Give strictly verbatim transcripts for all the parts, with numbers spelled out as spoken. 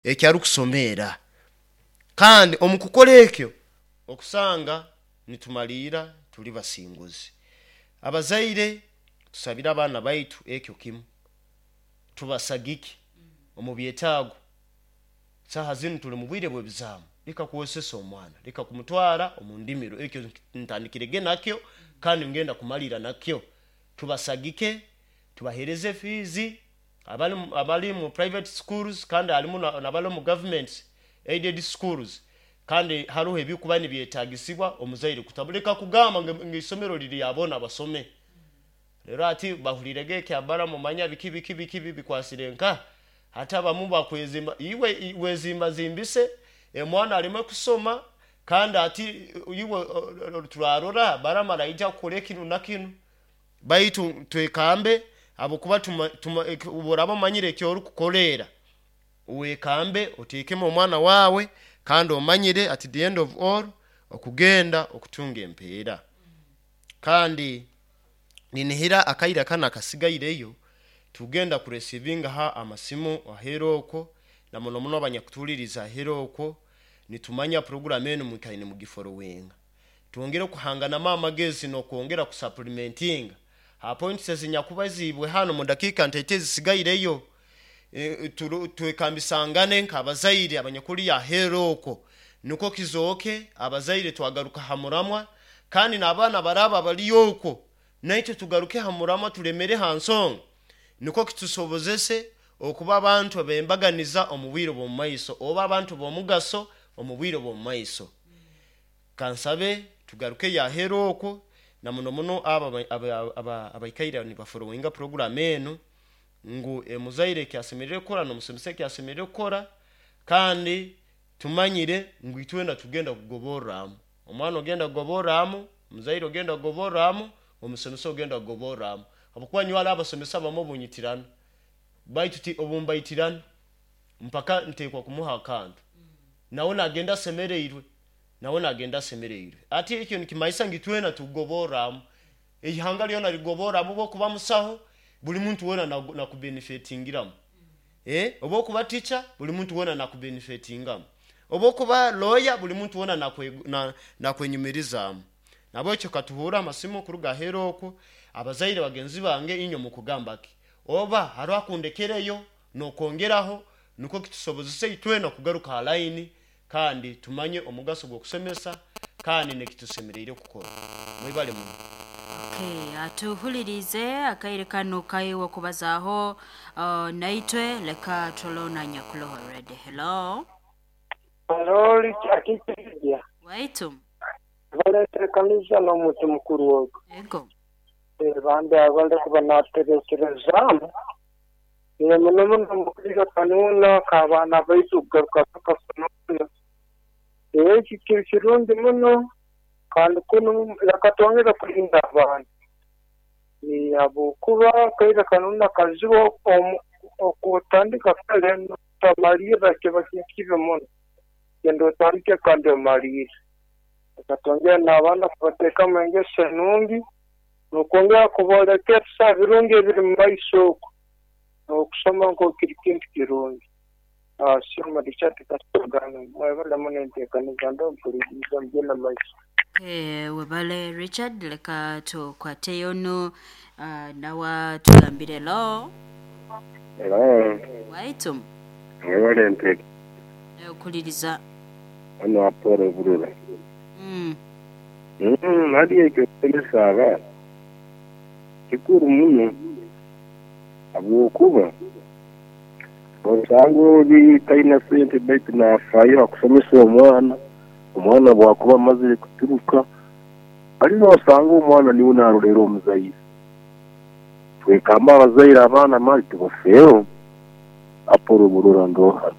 Ekyarukusomeera kandi omu kukora ekyo okusanga nitumaliira tuli basinguzi. Abazaire, tusabire abaana baitu ekyo kimu, tubasagike omu byetaago. Saaha zinu tuli mu bwire bw'ebizaamu, leka kwosesa omwana, leka kumutwara omu ndimiro. Ekyo ntandikirege nakyo kandi ngenda kumalira nakyo. Tubasagike, tubaheereze fees abali abali mu private schools, kandi halimu nabali omu government aided schools, kandi haroho ebikuba nibyetagisibwa omuzaire kutabuleka kugamba ngu isomero liri aboona basome. Rero ati bahulirege ekyabara mumanya biki biki biki bikwasire nka hati abamu bakwezimba iwe wezimbazimbise omwana aleme kusoma, kandi ati iwe turarora Balamu araija kukora kinu na kinu. Baitu twekambe, habwokuba obu omanyire ekyorukukoleera, wekambe oteekemu omwana waawe, kandi omanyire at the end of all okugenda okutunga empeera. Kandi ninihira akaire kanu akasigaireyo tugenda kureceivingaho amasimu aheeru okwo, na muno muno abanyakutuhuliriza aheeru okwo. Nitumanya program enu mwikaire nimugifollowinga. Twongere kuhanganamu amagezi n'okwongera kusupplementinga ha points ezinyakubaziibwe hanu mu dakiika ntaito ezisigaireyo. Twekambisangane nk'abazaire abanyakuli aheeru okwo, nukwo kizooke abazaire twagaruka ha muramwa, kandi n'abaana baraaba baliyo okwo naitwe tugaruke ha muramwa, tulemere ha nsonga, nukwo kitusobozese okuba abantu ab'embaganiza omu bwire bw'omu maiso, oba abantu b'omugaso omu bwire bw'omu maiso. Kansabe tugarukeyo aheeru okwo, na muno muno abo abaikaire nibafollowinga program enu, ngu omuzaire ekyasemeriire kukora n'omusomesa ekyasemeriire kukora. Kandi tumanyire ngu itwena tugenda kugoborramu omwana, ogenda kugoborramu omuzaire, ogenda kugoborramu omusomesa, ogenda kugoborramu, habwokuba nyowe hariho abasomesa abamu obunyitirana, baitu ti obumbaitirana mpaka nteekwa kumuha akantu, nawe nagenda asemereirwe, nawe nagenda asemereirwe. Ati ekyo nikimanyisa ngu itwena tukugoborramu, ihanga lyona ligoborramu. Oba okuba musaho, buli muntu weena nakubenefitingiramu, oba okuba teacher, buli muntu weena nakubenefitingamu, oba okuba lawyer, buli muntu weena nakwenyumirizaamu. Nabwekyo katuhuure amasimu kuruga aheeru okwo. Abazaire bagenzi bange, inywe mukugamba ki, oba haroho akundekereyo n'okwongeraho, nukwo kitusobozese itwena kugaruka ha line, kandi tumanye omugaso gw'okusomesa kandi nekitusemeriire kukora. Mwebale muno. Okay, atuhulirize akaire kanu kaiwe okubazaaho uh, naitwe. Leka turole nyakuloho ready. Hello. Hello, akikirya. Waitu. Baleteekaniza n'omuntu mukuru ogwo. Ego. Bambi abale kuba naterekerezaamu muno muno mukaire kanuuna k'abaana baitu kugaruka bakafununa. Eki kiri kirungi muno, kandi kunu leka twongere kulinda abaana, habwokuba kaire kanuuna kazibu. Okutandika kare notamalirra kiba kintu kibi muno. Genda otandike kandi omalirre. Leka twongere n'abaana kubateekamu engeso enungi n'okwongera kubooleka ebisa birungi ebiri mu maiso okwo, n'okusoma nk'oku kiri kintu kirungi. Sioma Richard Kasogana, mwebale muno enteekaniza, mpuliriza mugende maiso. Okay, webale Richard. Leka tukwateyo nu uh, nawa tugambire. Hello. Hello. Waitu. Mwebale enteeka. Okuliriza. Hano Apollo Burura. mm. Mm, hadi ekyo kusomesa abaana kikuru muno, habwokuba osanga oli talina sente, baitu nafaayo akusomesa omwana. Omwana bwakuba amazire kuturuka ali nosanga omwana niwe narolera omuzaire. Twekamba abazaire, abaana mali tubafeeho. Apollo Burura ndoha.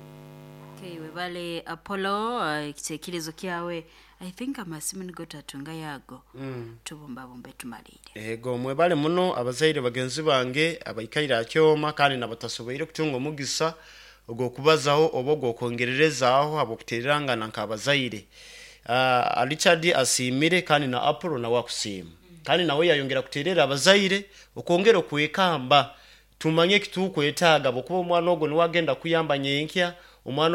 Okay, webale Apollo. uh, ekitekerezo kyawe. I think amasimu nigo tatunga yago, mm. tubumbabumbe tumalire. Ego, mwebale muno abazaire bagenzi bange abaikaire akyoma, kandi nabatasoboire kutunga omugisa ogw'okubazaho oba ogw'okwongererezaaho habw'okuteererangana nk'abazaire. uh, Richard asiimire, kandi na Apollo nawe akusiima, kandi nawe yayongera kuteerera abazaire okwongera okwekamba, tumanye ekitukwetaaga, bwokuba omwana ogwo niwe agenda kuyamba nyenkya. Omwana.